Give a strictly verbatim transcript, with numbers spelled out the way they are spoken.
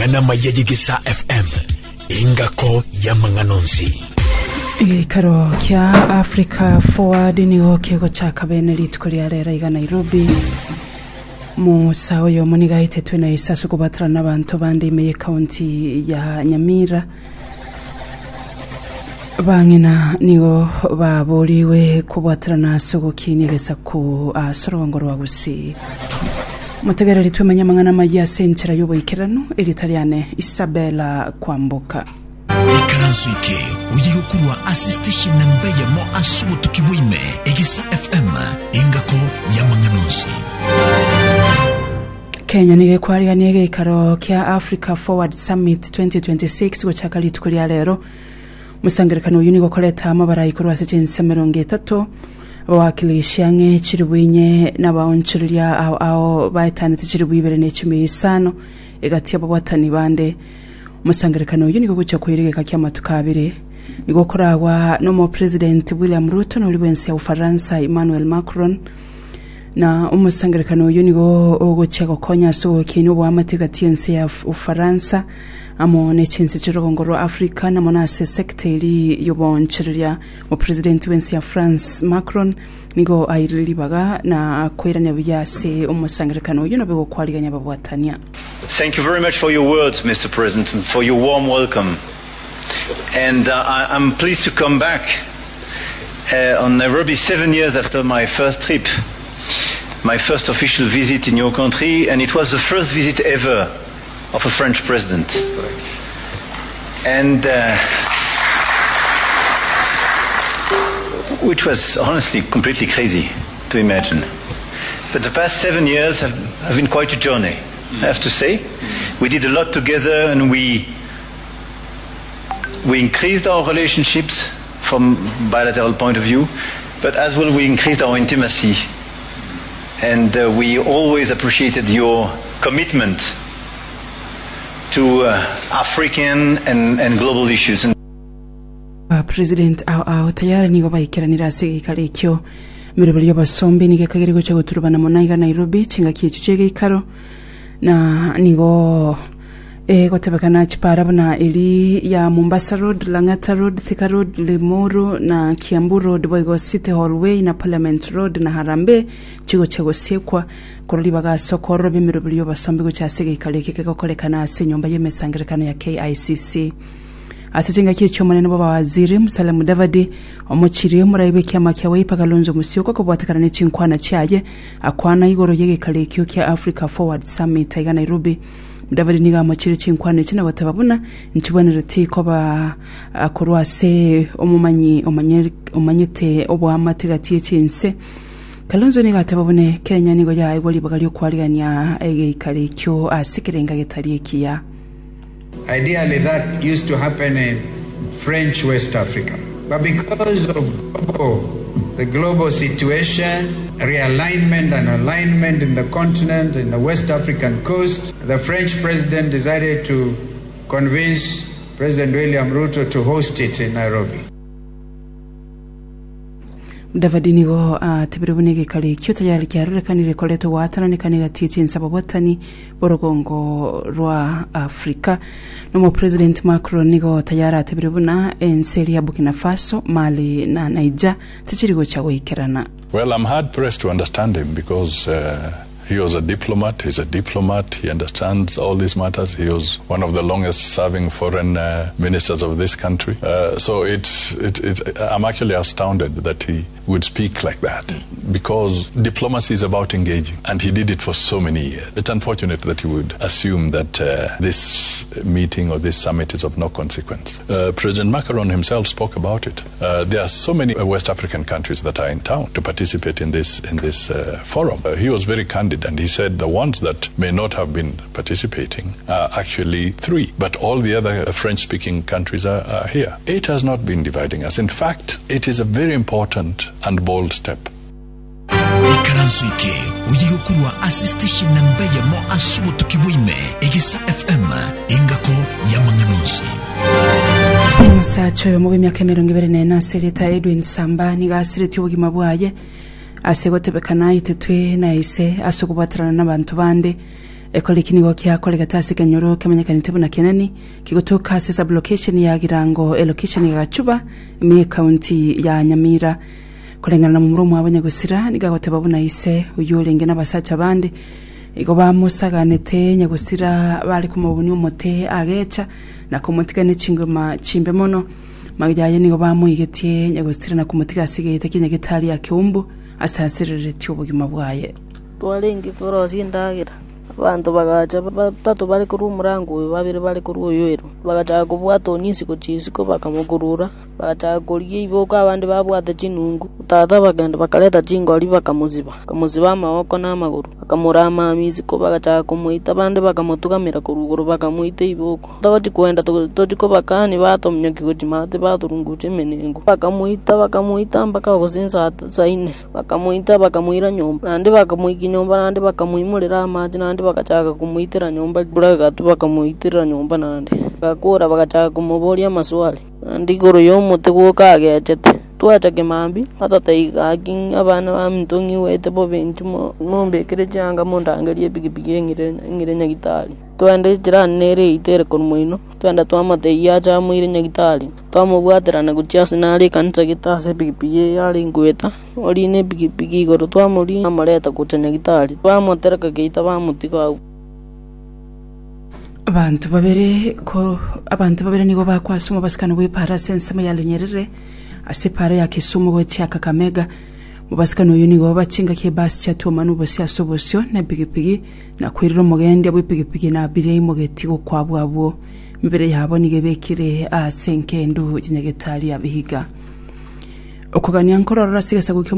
Amang'ana amaya y'Egesaa F M, engako y'amang'ana onsi. Egeikaro kia Africa Forward nigo kegochaka bene rituko ria rero iga Nairobi. Musa oyo muniga aitetwe na isasu kobatrana n'abanto bande ime y'ekaunti ya Nyamira. Bang'ina nigo baboriwe kobwaterana ase ogokinia egesaku ase orongo rwa Gusii. Motegereri twemanye amang'ana amaya ase enchera y'oboikeranu eritariane Isabella Kwamboka. Ikaranso eke oye gokurwa ase station namba eyemo ase obotuki bwaime Egesa F M engako y'amang'ana onsi. Kenya nigo ekwarigania egeikaro kia Africa Forward Summit twenty twenty-six gochaka rituko ria rero. Musangerekano oyu nigo koreta amabara ikorwa ase chinse emerongo etato abawakilishi ang'e chiribu inye n'abaonchoreria ao ao baetanete chiribu ibere na echumi isano egati y'ababwatani bande. Musangerekano oyu nigo gocha koiregeka kia amatuko abere nigo koragwa n'omo President William Ruto n'ori bwensi ya Ufaransa Emmanuel Macron. Na omosangerekano oyu nigo ogochia gokonya ase ogokinia oboamate gati y'ense ya Ufaransa amo n'echinse chi'orugongo rwa Africa namo nase sekta eri y'oboonchoreria. Opresident bwensi ya France Macron nigo airire ribaga na koirania buya ase omosangerekano oyu nabe gokwarigania ababwatania. Thank you very much for your words, Mister President, and for your warm welcome. And, uh, I, I'm pleased to come back, uh, on Nairobi seven years after my first trip, my first official visit in your country, and it was the first visit ever of a French president. And, uh, which was honestly completely crazy to imagine. But the past seven years have, have been quite a journey, I have to say. We did a lot together, and we, we increased our relationships from bilateral point of view, but as well we increased our intimacy. And, uh, we always appreciated your commitment to, uh, African and, and global issues. And Uh, President ao ao tayari nigo baikeranira ase geikaro ekio emeroberi y'abasombi nigo ekagere gocha goturubana mono iga Nairobi chingaki echio chia egeikaro na nigo egotebekana chipara buna eri ya Mombasa Road, Lang'ata Road, Thika Road, Limuru na Kiambu Road boigo City Hall Way na Parliament Road na Harambee chigocha gosiekwa korora ribaga ase okorora emeroberi y'abasombi gocha ase egeikaro eke kegokorekana ase enyomba y'emesangerekano ya K I C C. Ase chingaki echio omonene bw'abawaziri Musalia Mudavadi omochiri omorai bw'ekiama kia Wiper Kalonzo Musyoka kobwatekana ne chinkwana chiaye akwana igoro y'egeikaro ekio kia Africa Forward Summit iga Nairobi. Mudavadi nigo amochire chinkwana echi na goteba buna nchibwenereti koba korwa ase omomanyi omanye omanyete oboamate gati y'echinse. Kalonzo nigo ateba bune Kenya nigo yaigwa ribaga ri'okwarigania egeikaro ekio ase ekerenga getari ekiya. Ideally, that used to happen in French West Africa. But because of global, the global situation, realignment and alignment in the continent, in the West African coast, the French president decided to convince President William Ruto to host it in Nairobi. Mudavadi nigo atebire buna egeikaro ekio tayari kiarorekanire koretwa gwatananekana egati y'echinsa ababwatani b'orugongo rwa Africa. Nomo President Macron nigo tayari atebire buna ense eri ya Burkina Faso, Mali na Niger tichiri gocha goikerana. Well, I'm hard pressed to understand him because, uh, he was a diplomat. He's a diplomat. He understands all these matters. He was one of the longest serving foreign, uh, ministers of this country. Uh, so it's, it, it, I'm actually astounded that he would speak like that, because diplomacy is about engaging, and he did it for so many years. It's unfortunate that he would assume that, uh, this meeting or this summit is of no consequence. Uh, President Macron himself spoke about it. Uh, there are so many West African countries that are in town to participate in this, in this, uh, forum. Uh, he was very candid, and he said the ones that may not have been participating are actually three, but all the other French-speaking countries are, are here. It has not been dividing us. In fact, it is a very important and bold step. Ikaranso eke oye gokurwa ase station namba eyemo ase obotuki bwaime Egesa F M engako y'amang'ana onsi. Omosacha oyomo bw'emiaka emirongo ibere na ene ase erieta Edwin Samba nigo asiretie obogima bwaye ase gotebekana aitetwe na ise ase okobwaterana n'abanto bande Ekore eki nigo kiakoregete ase ekenyoro kemanyekanete buna Keneni, kegotoka ase sub-location ya Girango, elocation ya Gachuba, ime y'ecounty ya Nyamira. Koreng'ana na momura omwabo Nyagosira, nigo agoteba buna ise oyio orenge nabasacha bande, igo bamosaganete Nyagosira bare komobunia omote agecha na komotiga ne chingoma chimbe mono. Magega aye nigo bamoigetie Nyagosira na komotiga ase egeita kia Nyagetari ya Keumbu ase asereretie obogima bwaye. Twarenge korosia endagera, abanto bagacha batato bare korwa omorango oyo, babere bare korwa oyo ero. Bagachaka kobwata onyisi gochia isiko bakamokurura, bagachaka korigia iboko abande babwate chinungu. Tata bakagenda bakareta chingori bakamosiba, bakamosiba amaboko na amagoro, bakamorama isiko bagachaka komoita abande bakamotugamera korwa igoro bakamoita iboko. Togochi kogenda tochi kobakani batominyokia gochia maate batorungucha emenengo. Bakamoita bakamoita mpaka gose nsaa saa ine, bakamoita bakamoira nyomba, naende bakamoikia nyomba naende bakamoimorera amache naende bagachaka komoitera nyomba buna egatwa bakamoitera nyomba naende. Bagakora bagachaka komoboria amaswali, naende igoro ya omote gwoka agechete. Twacha kemambia, batotebia gaki abana baminto ng'igwete bobe inchu mombekere chianga mondangerie epikipiki eng'ire eng'ire nyagitari. Twende echirani nere eito ere korwa moino, twenda twamotebia ache amoire nyagitari, twamobwaterana gochia ase nare ekanisa gete ase epikipiki eye arenge goeta, orina epikipiki igoro twamorina amoreta gocha nyagitari, bamotereka geita bamotiga agwo. Abanto babere ko abanto babere nigo bakwasoma omobasikano bw'epara ase ensemo ya Lunyerere ase epara ya Kisumu gochia Kakamega. Mobasikano oyo nigo bachingaki ebasi chiatuomana obosio ase obosio na epigipigi na koirera omogendia bw'epigipigi na abiria aimogeti gokwabwa abwo. Emebere yabo nigo ebekire ase enkendu ya Nyagetari ya Vihiga. Okogania nkororora ase egesaku kia